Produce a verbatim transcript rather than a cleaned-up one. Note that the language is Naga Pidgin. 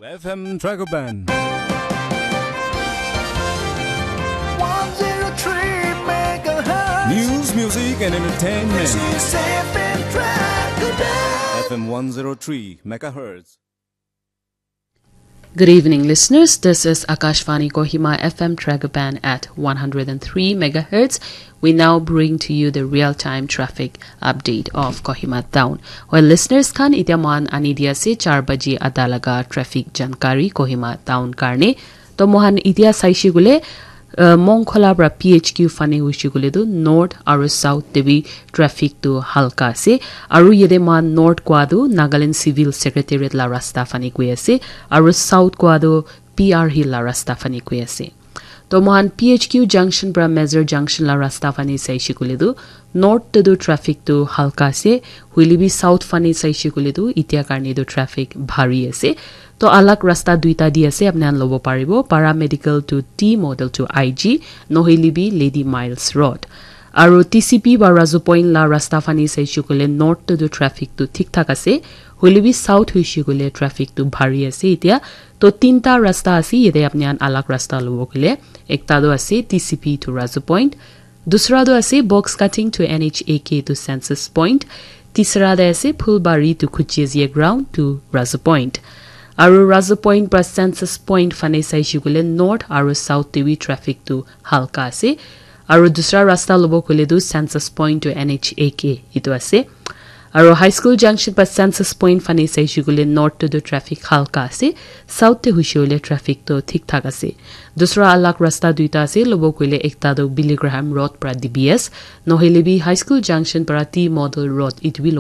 F M Dragoban. one zero three megahertz. News, music, and entertainment. This is F M Dragoban. F M one zero three megahertz. Good evening, listeners. This is Akashvani Kohima F M Dragoban at one hundred and three megahertz. We now bring to you the real-time traffic update of Kohima town. Well, listeners khan, itia mohan ani dia ase char baji ada laga traffic jankari Kohima town karne. To mohan itia saishe gule, uh, Mongkhola pra P H Q fane hoishe gule tu north aru south te bi traffic tu halka ase. Aru yede mohan north kwa tu Nagaland Civil Secretariat la rasta fane koi ase. Aru south kwa tu P R Hill la rasta fane koi ase. To mohan P H Q junction pra Major junction la rasta fane saishe gule tu north te tu traffic tu halka ase. Hoile bi south fane saishe gule tu itia karne tu traffic bhari ase. To alag rasta duita di ase, apni khan lobo paribo, Paramedical to T Model to I G, nohile bi Lady Miles Road. Aru T C P ba Razu Point la rasta fane saishe gule north te tu traffic tu thik thak ase. Hoile bi south hoishe gule traffic tu bhari ase itia. To tinta rasta ase, yete apni khan alag rasta lobo gule. Ekta tu ase T C P to Razu Point. Dusra tu ase Box Cutting to N H A K to Census Point. Tisra tu ase Phulbari to Khuchezia Ground to Razu Point. Aru Razu Point pra Census Point fane saishe gule north aru south te bi traffic tu halka ase. Aru dusra rasta lobo gule tu Census Point to N H A K itu ase. Aru High School Junction pra Census Point fane saishe gule north te tu traffic halka ase, south te hoishe gule traffic tu thik thak ase. Dusra alag rasta duita ase, lobo gule ekta tu Billy Graham Road pra D B S, nohile bi High School Junction pra T Model Road itu bi